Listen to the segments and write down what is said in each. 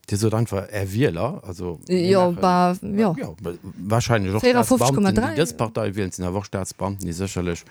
Dir sot einfach Är Wieler, also mir Jo, maachen, bah, jo. jo, wahrscheinlech och Staatsbeamten, déi 54,3. dës Partei wielen, et sinn awer och Staatsbeamten, déi sécherlech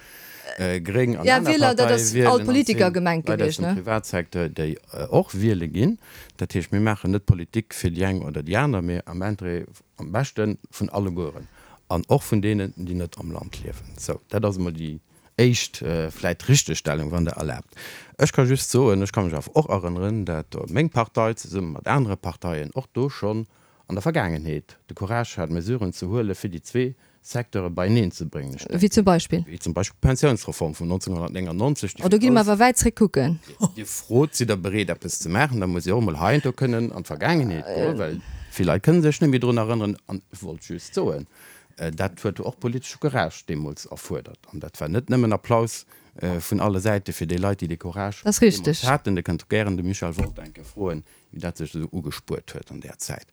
gréng an Ja, aner Wieler, dat Parteie ass wielen, all an et Politiker sinn gemengt Leit aus gewiescht, dem ne? Privatsecteur, déi och wiele ginn. Dat heescht, mir maachen net Politik fir déi eng oder déi aner, mee am Interêt, am beschte vun allegueren an och vun deenen, déi net am Land liewen. Sou, dat ass emol déi éischt vläit Richtegstellung, wann Der erlaabt. Ech ka just soen, ech ka mech awer och erënneren, dat meng Partei zesumme mat anere Parteien och do schonn an der Vergaangenheet de Courage hat, Mesuren ze huelen, fir déi zwee Secteure beieneen ze bréngen. Ech Wéi zum Beispill? Wéi zum Beispill d'Pensiounsreform vun 1999, déi Oh, do gi mer awer wäit zréck kucken. Dir frot, Sidd Der bereet, eppes ze maachen? Da muss ee och emol heiansdo kënnen an d'Vergaangenheet goen, well vill Leit kënne sech net méi drun erënneren. An ech wollt just soen, Dat huet och politesche Courage deemools erfuerdert. An dat war net nëmmen Applaus vun alle Säite fir déi Leit, déi dee Courage Dat ass deemools haten. Dir kënnt gären de Michel Wolter eng Kéier froen, wéi dat sech esou ugespuert huet an där Zäit.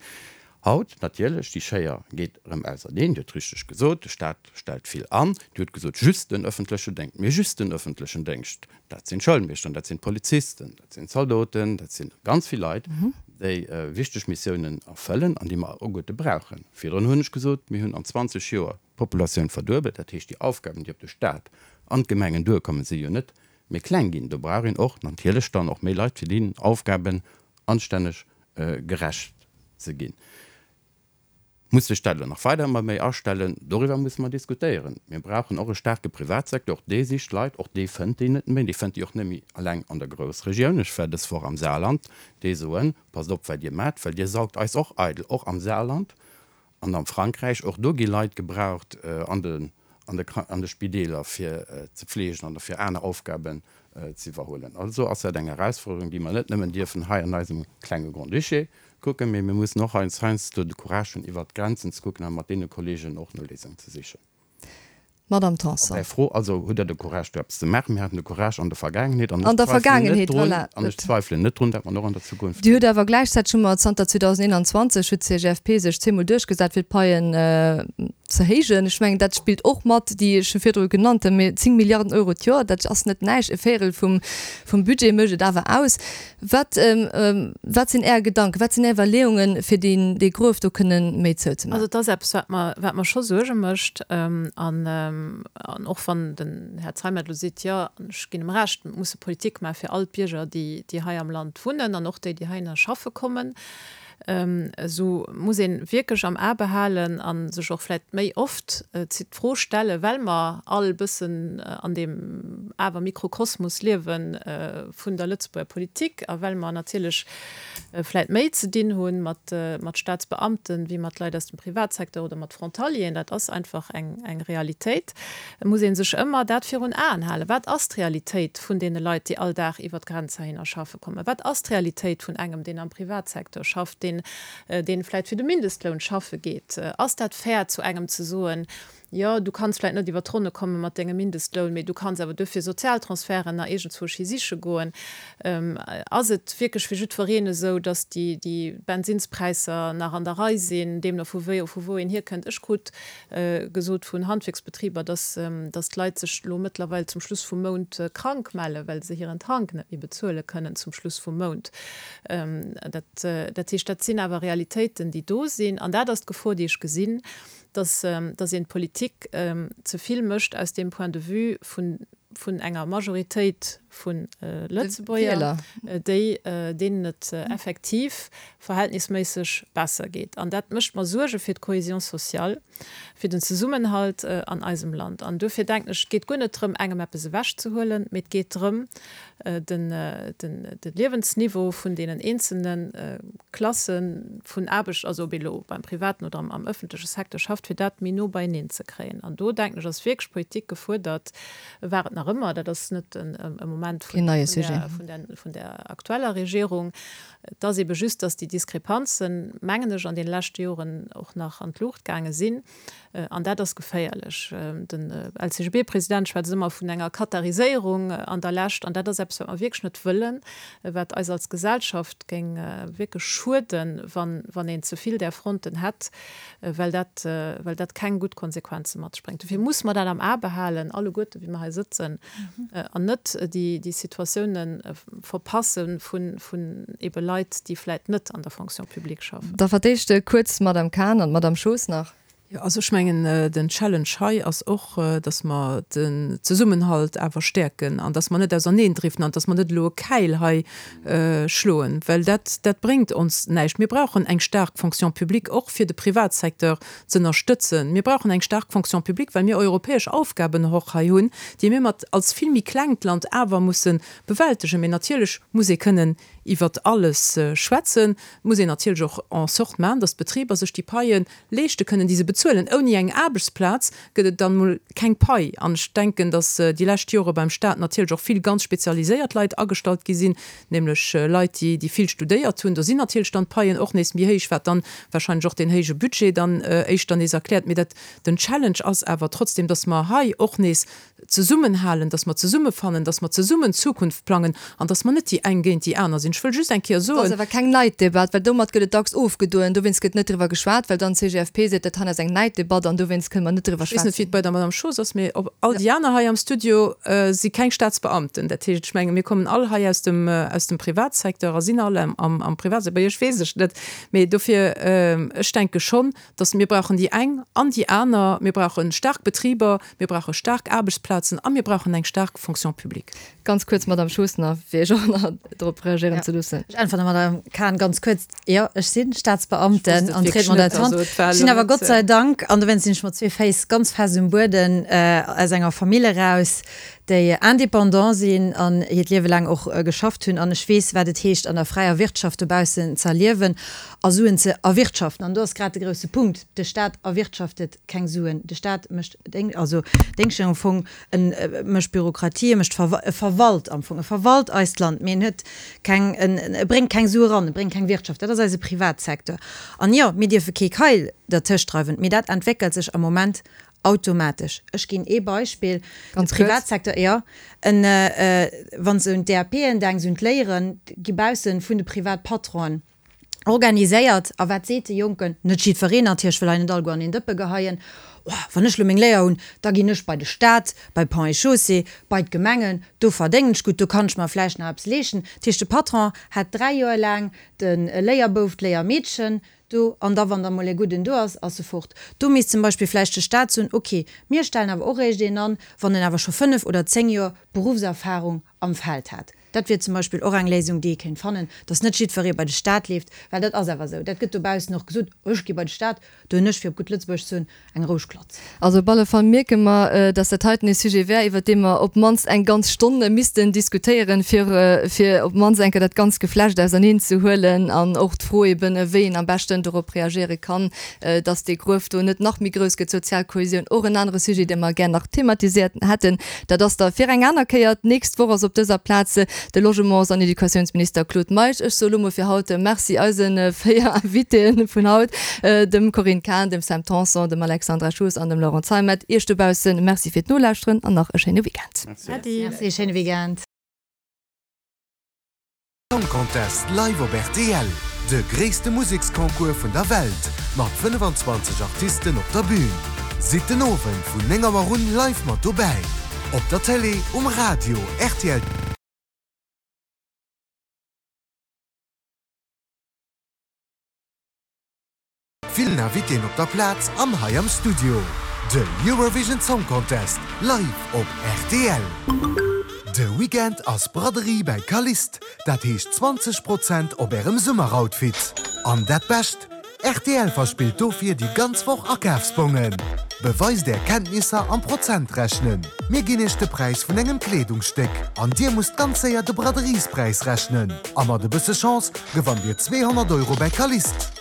Haut natierlech, déi Schéier geet erëm auserneen. Dir hutt richteg gesot, de Staat stellt vill an. Dir hutt gesot, just den öffentleche Déngscht. Mee just den öffentlechen Déngscht, dat sinn d'Schoulmeeschteren, dat sinn d'Polizisten, dat sinn d'Zaldoten, dat si ganz vill Leit, déi wichteg Missiounen erfëllen an déi mer alleguerte brauchen. Virdrun hunn ech gesot, mir hunn an 20 Joer d'Populatioun verduebelt. Dat heescht, déi Aufgaben, déi op de Stat an d'Gemengen duerkommen, si jo net méi kleng ginn. Do brauch een och natierlech dann och méi Leit, fir deenen Aufgaben anstänneg gerecht ze ginn. Muss sech dat elo nach weider ëmmer méi astellen? Doriwwer musse mer diskutéieren. Mir brauchen och e staarke Privatsecteur. Och dee sicht Leit, och dee fënnt déi net méi. Dee fënnt déi och net méi eleng an der Groussregioun. Ech war dës Woch am Saarland. Déi soen, Passt op, wat Dir maacht, well Dir saugt eis och eidel, och am Saarland an am Frankräich. Och do gi Leit gebraucht an de an de Spideeler, fir ze fleegen an fir aner Aufgaben ze iwwerhuelen. Also ass dat eng Erausfuerderung, déi mer net nëmmen dierfen hei an eisem klenge Grand-Duché kucken, mee mir mussen och heiansdo de Courage hunn, iwwert d'Grenzen ze kucken a mat deene Kolleegen och no Léisungen ze sichen. Madame Tanson. Op Är Fro also, Hutt Der de Courage, do eppes ze maachen? Mir haten de Courage an der Vergaangenheet an ech zweifelen net drun, an ech zweifelen net drun, dat mer en och an der Zukunft. Dir hutt awer gläichzäiteg hu mer zanter 2021 huet d'CGFP sech zweemol duerchgesat, fir d'Paien ze héijen. Ech mengen, dat spillt och mat, déi ech scho virdru genannt hunn, mee 10 Milliarden Euro d'Joer, dat ass net näischt, e Véierel vum Budget mécht et awer aus. Wat, wat sinn Är Gedanken, wat sinn Är Iwwerleeungen, fir deen, dee Gruef do kënnen méi zouzemaachen? Also et ass eppes, wat mer, wat mer scho Suerge mécht. An, an och wann den Här Zeimet elo seet, jo, an ech ginn em Recht, mir musse Politik maache fir all d'Bierger, déi, déi hei am Land wunnen an och déi, déi heihinner schaffe kommen, esou muss ee wierklech am A behalen a sech och vläicht méi oft d'Fro stellen, well mer all e bëssen an deem awer Mikrokosmos liewe vun der Lëtzebuerger Politik a well mer natierlech vläicht méi ze dinn hu mat Staatsbeamten wéi mat Leit aus dem Privatsecteur oder mat Frontalieren, dat ass einfach eng Realitéit, muss ee sech ëmmer dat virun Aen halen, Wat ass d'Realitéit vun deene Leit, déi all Dag iwwer d'Grenz heihinner schaffe kommen? Wat ass d'Realitéit vun engem, deen am Privatsecteur schafft, deen, deen vläicht fir de Mindestloun schaffe geet? Ass dat fair, zu engem ze soen, Jo, du kanns vläicht net iwwer d'Ronne komme mat dengem Mindestloun, mee du kanns awer duerfir Sozialtransferten nach iergendzwousch hi siche goen? Ass et wierklech fir jiddwereen esou, datt déi, déi Bensinnspräisser nach an der Rei sinn, deemno vu wéi, vu wou een hierkënnt? Ech krut gesot vun Handwierksbetriber, dass dass d'Leit sech elo mëttlerweil zum Schluss vum Mount krank mellen, well se hiren Tank net méi bezuele kënnen zum Schluss vum Mount. Dat dat heescht, dat sinn awer Realitéiten, déi do sinn. An dat ass d'Gefor, déi ech gesinn, dass dass een d'Politik ze vill mécht aus deem Point de vue vun vun enger Majoritéit vu Lëtzebuerger, déi, deenen et effektiv verhältnisméisseg besser geet. An dat mécht mer Suerge fir d'Cohésion sociale, fir den Zesummenhalt an eisem Land. An duerfir denken ech, et geet guer net drëm, engem eppes ewechzehuelen, mee et geet drëm, den, de Liewensniveau vun deenen eenzelne Klasse vun Aarbecht, also ob ee lo beim privaten oder am ëffentleche Secteur schafft, fir dat méi no beieneen ze kréien. An do, denken ech, ass wierklech Politik gefuerdert, war et nach ëmmer, dat ass net e Moment vun der aktueller Regierung, et ass ebe just, datt déi Diskrepanzen, mengen ech, an deene leschte Joren och nach an d'Luucht gaange sinn. An dat ass geféierlech. Den LCGB-President schwätzt ëmmer vun enger Qatariséierung an der Lescht. An dat ass eppes, wat mer wierklech net wëllen, wat eis als Gesellschaft géing wierklech schueden, wann een ze vill där Fronten hätt, well dat, well dat keng gutt Konsequenze mat sech bréngt. Dofir muss mer dat am A behalen, alleguerte wéi mer hei sëtzen, an net déi. déi Situatioune verpasse vun ebe Leit, déi vläit net an der Fonction publique schaffen. Da fir d'éischt kuerz d'Madame Cahen an d'Madame Schoos nach. Jo, also ech mengen, den Challenge hei ass och, dass mer den Zesummenhalt awer stäerken an dass mer net auserneendriften an dass mer net elo e Käil hei schloen, well dat, dat bréngt ons näischt. Mir brauchen eng staark Fonction publique, och fir de Privatsecteur ze ënnerstëtzen. Mir brauchen eng staark Fonction publique, well mir europäesch Aufgaben och hei hunn, déi mir mat als vill méi klengt Land awer musse bewältegen. Mee natierlech muss ee kënnen iwwert alles schwätzen. Et muss een natierlech och en sorte maachen, dass d'Betriber sech déi Paie leeschte kënnen, déi se bezuelen. Ouni eng Aarbechtsplaz gëtt et dann emol keng Pai. An ech denken, datt déi lescht Jore beim Stat natierlech och vill ganz spezialiséiert Leit agestallt gi sinn, nämlech Leit, déi, déi vill studéiert hunn. Do sinn natierlech dann d'Paien och nees méi héich, wat dann wahrscheinlech och deen héije Budget dann éischter nees erkläert. Mee dat, den Challenge ass awer trotzdem, datt mer hei och nees zesummenhalen, dass mer zesummefannen, dass mer zesummen d'Zukunft plangen an dass mer net déi eng géint déi aner sinn. Ech wëll just eng Kéier Dat ass soen. awer keng Neiddebatt, well domat gëtt et dacks ofgedoen. Dowéinst gëtt net driwwer geschwat, well dann d'CGFP seet, dat hei ass eng Neiddebatt an dowéinst kënne mer net driwwer Ech weess net, wéi schwätzen. et bei der Madame Schoos ass, mee op all déi aner hei am Studio si keng Staatsbeamten. Dat heescht, ech menge mir kommen all hei aus dem, aus dem Privatsecteur a sinn all am, am Privatsecteur. Bei Iech weess ech et net. Mee dofir, ech denke schonn, dass mir brauchen déi eng an déi aner, mir brauche staark Betriber, mir brauche staark Aarbechtsplazen a mir brauchen eng staark Fonction publique. Ganz kuerz, Madame Schoos, fir Iech och nach drop reagéieren ze loossen. Ech äntweren der Madame Cahen ganz kuerz, Jo, ech si Staatsbeamten an Traitement d'attente. Ech sinn awer Gott sei Dank, an dowéinst sinn ech mat zwee Féiss ganz fest um Bueden, aus enger Famill eraus, déi indépendant sinn an hiert Liewe laang och geschafft hunn. An ech weess, wat et heescht, an der fräier Wirtschaft dobaussen ze erliewen a Suen ze erwirtschaften. An do ass grad de grousse Punkt, De Staat erwirtschaftet keng Suen. De Staat mécht Déng, also Déngschter am Fong, e mécht Bürokratie, e mécht Verwa, e verwalt am Fong, e verwalt eist Land, mee en huet keng, en e bréngt keng Sue ran, e bréngt keng Wirtschaft. Dat ass eise Privatsecteur. An jo, mir dierfe kee Keil dertëscht dreiwen, mee dat entwéckelt sech am Moment automatesch. Ech ginn ee Beispill, de Privatsecteur, jo, en, wann s de un d'DAPen denks, un d'Léieren, gi bausse vun de Privatpatronen organiséiert. A wat seet de Jonken? Net jiddwereen natierlech, ech wëll hei net alleguer an een Dëppe geheien, Oh, wann ech elo meng Léier hunn, da ginn ech bei de Staat, bei Ponts et Chaussées, bei d'Gemengen, do verdéngen ech gutt, do kann ech mer vläicht nach eppes leeschten. Dat heescht, de Patron hat 3 Joer laang de Léierbouf, d'Léiermeedchen do, an da wann da mol e gudden do ass, ass e fort. Do misst zum Beispill vläicht de Staat soen, ok, mir stellen awer och eréischt een an, wann en awer scho 5 oder 10 Joer Beruffserfahrung am Feld hat. Dat wier zum Beispill och eng Léisung, déi ee kéint fannen, dass net jiddweree bei de Staat leeft, well dat ass awer esou, dat gëtt dobaussen och gesot, ech gi bei de Staat, do hunn ech, fir op gutt Lëtzebuergesch ze soen, eng roueg Klatz. Also op alle Fall mierke mer, dass dat heiten ee Sujet wär, iwwert dee mer op d'mannst eng ganz Stonn missten diskutéieren, fir fir op d'mannst eng Kéier dat ganzt Geflecht auserneen ze huelen an och d'Fro eben, wéi een am beschten dorop reagéiere kann, dass dee Gruef do net nach méi grouss gëtt. Sozial Kohesioun, och en anere Sujet, dee mer gär nach thematiséiert hätten. Dat ass da fir eng aner Kéier. D'nächst Woch ass op dëser Plaz de Logements an Educatiounsminister Claude Meisch. Ech soe lo mol fir haut Merci eise 4 Invitéen vun haut, dem Corinne Cahen, dem Sam Tanson, dem Alexandra Schoos an dem Laurent Zeimet. Iech dobausse Merci fir d'Nolauschteren an nach e schéine Weekend. Merci. Merci, schéine Weekend. Song Contest live op rtl, de gréisste Museksconcours vun der Welt mat 25 Artisten op der Bühn. Sidd den Owend vun 9 Auer un live mat dobäi, op der Télé, um Radio, rtl. Villen Invitéen op der Plaz an hei am Studio. De Eurovision Song Contest live op rtl. De Weekend ass Braderie bäi Calliste, dat heescht 20 Prozent op ärem Summeroutfit. An dat Bescht, rtl verspillt dofir déi ganz Woch Akafsbongen. Beweist är Kenntnisser am Prozentrechnen. Mir ginn iech de Präis vun engem Kleedungsstéck an dir musst ganz séier de Braderiespräis rechnen. A mat e bësse Chance gewannt dir 200 Euro bäi Calliste.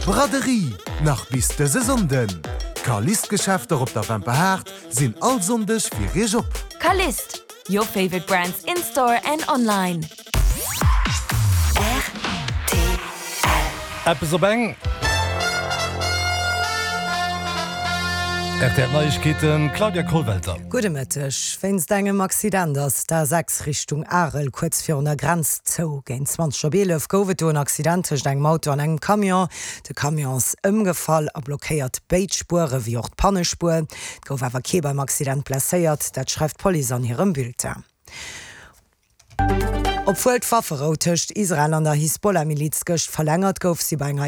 Braderie, nach bis dëse Sonnden! D'Calliste-Geschäfter op der Wemperhaart sinn all Sonndeg fir Iech op. Calliste, your favorite brands in store and online. Rtl. Eppes op eng. Rtl Neiegkeeten, Claudia Kollwelter. Gudde Mëtteg. Wéinst engem Accident ass d'A6 Richtung Arel kuerz virun der Grenz zou. Géint 20 op 11 gouf et do en Accident tëscht engem Auto an engem Camion. De Camion ass ëmgefall a blockéiert béid Spuere wéi och d'Pannespuer. Et gouf awer kee beim Accident blesséiert, dat schreift d'Police an hirem Bulletin. Obwuel d'Wafferou tëscht Israel an der Hisbollah-Miliz gëscht verlängert gouf, si bei enger.